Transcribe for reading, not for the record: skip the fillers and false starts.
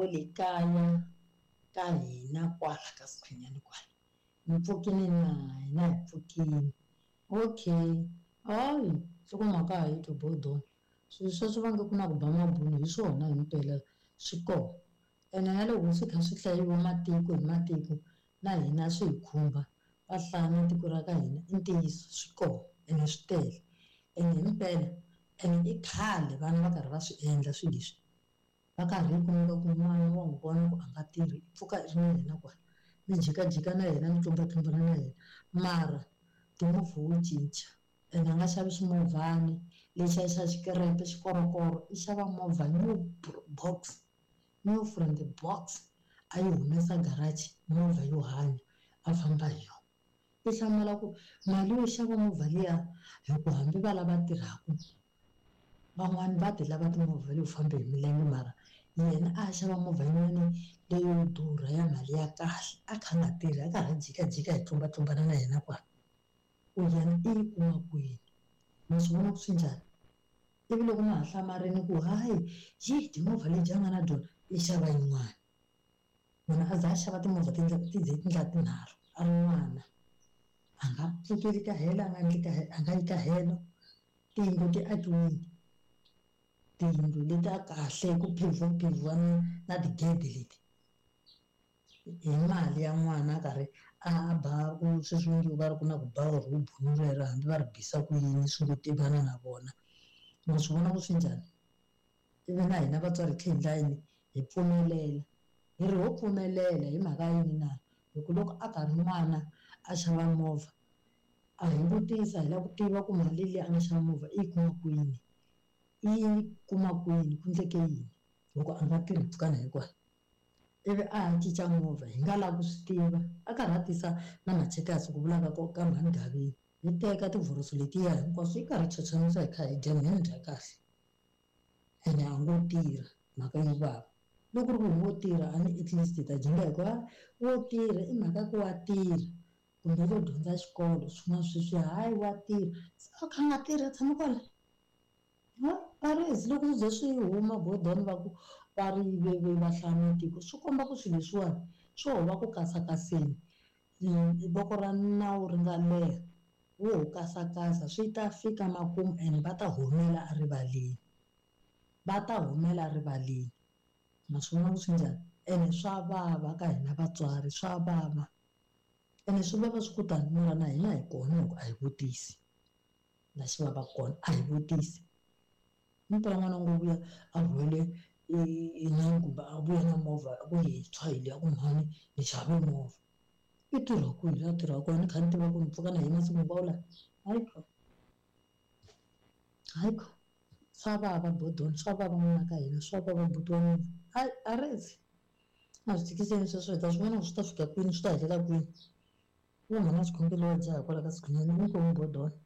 wa le kaya ka hina kwala ka Sikhunyani kwala. Mi pfukini na? Hina hi pfukini. Okay. Hayi, nhlokomhaka a hi twi Bodon. Swilo sweswo va nge ku na ku ba mabunu hi swona himpela swi kona. Ene na loko swi kha swi hlayiwa matiko hi matiko na hina swi hi khumba. Va hlaya na tiko ra ka hina i ntiyiso swi kona ene swi tele. Ene himpela ene i khale vana va karhi va swi endla swilo leswi. Va karhi yi kumeka ku n'wana wa n'wi vona ku a nga tirhi i pfuka i ri na yena kwala mi jikajika na yena mi tlumbatlumbana na yena mara timovha wo cinca ene a nga xavi ximovhani lexiya xa xikereke xikorokoro i xava movha new box new from the box a yi humesa garage movha yo hanya a famba hi yona i hlamala ku mali yo xava movha liya hi ku hambi va lava tirhaka van'wani va ti lava timovha leyo famba hi milenge mara yena a xava movha yin'wani leyo durha ya mali ya kahle a kha a nga tirhi a karhi a jikajika hi tlumbatlumbana na yena kwala ku yena i yi kuma kwini ma swi vona ku swi njhani ivi loko ma ha hlamarini ku hayi yi timovha lebyi a nga na byona i xava yin'wana munhu a za a xava timovha ti ti ze ti ndla tinharhu a ri n'wana a nga pfukeli ka helo a nga endli ka a nga yi ka helo tiyindlu ti akiwile tiyindlu leti a kahle ku phevhiwa na na tigede leti hi mali ya n'wana a karhi a ba ku sweswi va nge va ri ku na ku ba or ku bunu rero hambi va ri bisa ku yini swi ngo tivana na vona ma swi vona ku swi njhani ivi na hina vatswari hi tlhe hi endla yini hi pfumelela hi ri ho pfumelela hi mhaka yini na hi ku loko a karhi n'wana a xava movha a hi vutisa hi lava ku tiva ku mali leyi a nga xava movha i yi kuma kwini i yi kuma kwini ku endleke yini loko a nga tirhi mpfhukana hinkwayo ivi a ha cinca movha hi nga lavi ku swi tiva a karhi a tisa na machekasi ku vulaka ku ka mhani Gaveni hi teka tivhoroso letiya hinkwaswo yi karhi yi chochamisa hi kha hi dya mehe ni dya kahle ene a ngo tirha mhaka yo vava loko ku ri ku wo tirha a ni at least hi ta dyondza hi ku wo tirha i mhaka ku wa tirha kumbe u lo dyondza xikolo swin'wana sweswiya hayi wa tirha se a kha a nga tirhi a tshama kwala va ri loko swi ze swi huma godoni va ku va ri ve va hlaya matiko swi komba ku swilo leswiwani swo ho va ku kasakaseni voko ra nawu ri nga leha wo ho kasakasa swi ta fika makumu and va ta humela erivaleni va ta humela erivaleni ma swi vona ku swi njhani ene swa vava ka hina vatswari swa vava ene swi vava swi ku tani mara na hina hi kona hi ku a hi vutisi la xi vavaka kona a hi vutisi impela n'wana ngo vuya a rhwele inani kumbe a vuya na movha ku yintshwa hi leya ku mhani ni xave movha i tirha kwihi la tirhaka kona ni kha ni tiva ku ni pfuka na hi masiku hinkwawo lawa hayi kho hayi kho swa vava bodoni swa vava n'wana ka hina swa vava buti wa mina hayi a rezi a swi tikiseni sweswo hi ta swi vona ku swi ta fika kwini swi ta helela kwini wo mhana xikhongelo wa jaha kwala ka sikhunyana inkomu bodoni.